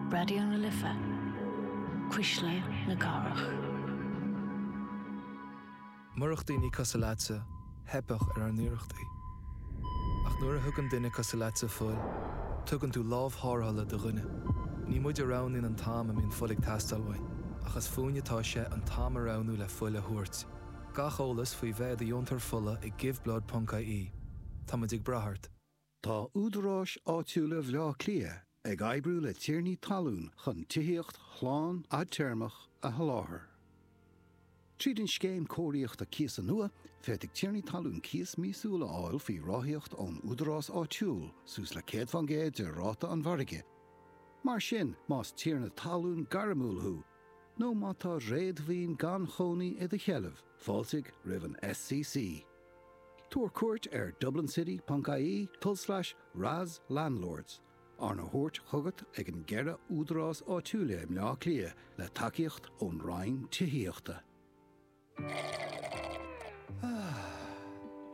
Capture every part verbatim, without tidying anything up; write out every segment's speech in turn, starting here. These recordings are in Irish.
Raidió na Life, Cuisle na Cathrach. Murach daoine cosúil leatsa, theipfeadh ar ár n-iarrachtaí. Ach nuair a thugann duine cosúil leatsa fuil, tugann tú lámh tharrthála do dhuine. Ní muid a roghnaíonn an t-am a mbíonn fuil ag teastáil uainn, ach is fúinne atá sé an t-am a roghnú le fuil a thabhairt. Gach eolas faoi bheith i do dheontóir fola ag giveblood.ie. Táimid ag brath ort. Tá údaráis áitiúla Bhaile Átha Cliath ag oibriú le tiarnaí talún chun tithíocht shlán fhadtéarmach a sholáthar. Tríd an scéim cóiríochta cíosa nua, féadfaidh tiarnaí talún cíos míosúil a fháil faoi ráthaíocht ón údarás áitiúil suas le céad faoin gcéad de ráta an mhargaidh. Mar sin, más tiarna talún gairmiúil thú, nó má tá réadmhaoin gan chónaí i do sheilbh, fáiltigh roimh an SCC. Tabhair cuairt ar dublincity.ie tulslais RAS Landlords, arna thabhairt chugat ag an gceithre údarás áitiúla i mBaile Átha Cliath le tacaíocht ón Roinn Tithíochta.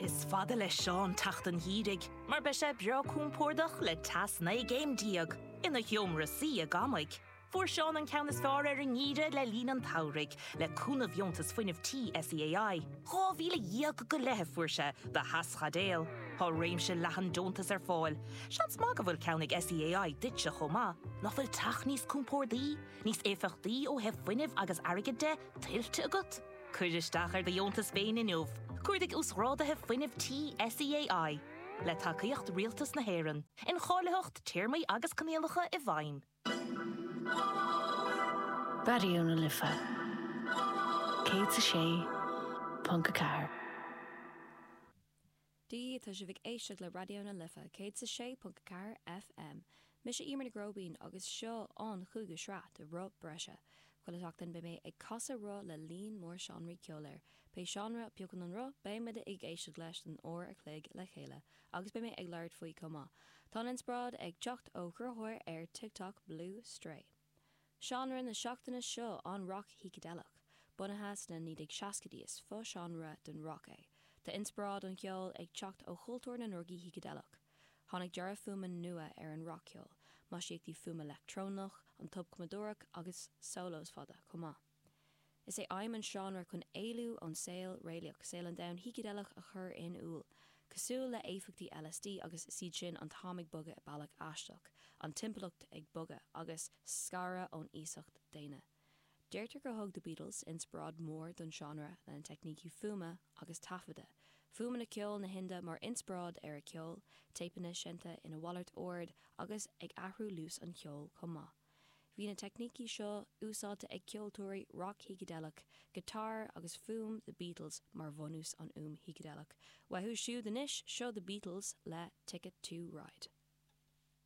Is fada le Seán teacht an gheimhridh, mar beidh sé breá compordach le teas naoi gcéim déag ina sheomra suí i gCamaigh. Fuair Seán an ceann is fearr ar an ngeimhreadh le linn an tsamhraidh, le cúnamh dheontas fuinnimh tí SEAI. Dhá mhíle dhéag go leith a fuair sé do theaschaidéal. Tá réimse leathan deontas ar fáil. Seans maith go bhfuil ceann ag SEAI duitse chomh maith. Nach bhfuil teach níos compordaí, níos éifeachtaí ó thaobh fuinnimh agus airgid de, tuillte agat? Cuir isteach ar do dheontas féin inniu. Cuardaigh Uasghráduithe Fuinnimh Tí SEAI. Le tacaíocht Rialtas na hÉireann. Incháilitheacht, téarmaí agus coinníollacha i bhfeidhm. Raidió na Life céad is a sé ponc a ceathair. Dia, tá sibh ag éisteacht le Raidió na Life céad is a sé ponc a ceathair FM. Mise Emer Nic Róibín agus seo an chúigiú sraith de Roth Breise. Chuile sheachtain beidh mé ag casadh roth le líon mór seánraí ceoil air. Pé seánra a phiocann an roth, beidh muid ag éisteacht leis don uair a chloig le chéile, agus beidh mé ag labhairt faoi chomh maith. Tá an inspioráid ag teacht ó chruthaitheoir ar TikTok Blue Stray. Seánra na seachtaine seo an roc shícideileach. Bunaithe sna naoi déag seascaidí is fo-seánra den roc é. Tá inspioráid an cheoil ag teacht ó chultúr na ndrugaí shícideileach. Tháinig dearadh fuaime nua ar an rac-cheol, maisíochtaí fuaime leictreonach, an tobchumadóireacht agus solos fada chomh maith. Is é aidhm an seánra chun éalú ón saol réalaíoch, saol an domhain shícideileach a chur in iúl, cosúil le éifeachtaí LSD agus is iad sin an t-am ag bogadh i bealach aisteach, an timpeallacht ag bogadh, agus scaradh ón iasacht daonna. Deirtear gur thug The Beatles inspioráid mhór don seánra lena teicnící fuaime agus taifeadta, fuaimeanna ceoil na hInde mar inspioráid ar a ceol, téipeanna seinnte ina mhalairt ord agus ag athrú luas an cheoil chomh maith. Bhí na teicnící seo úsáidte ag ceoltóirí roc-shícideileach, giotár agus fuaim The Beatles mar bhunús an fhuaim shícideileach. Uathu siúd anois, seo The Beatles le Ticket to Ride.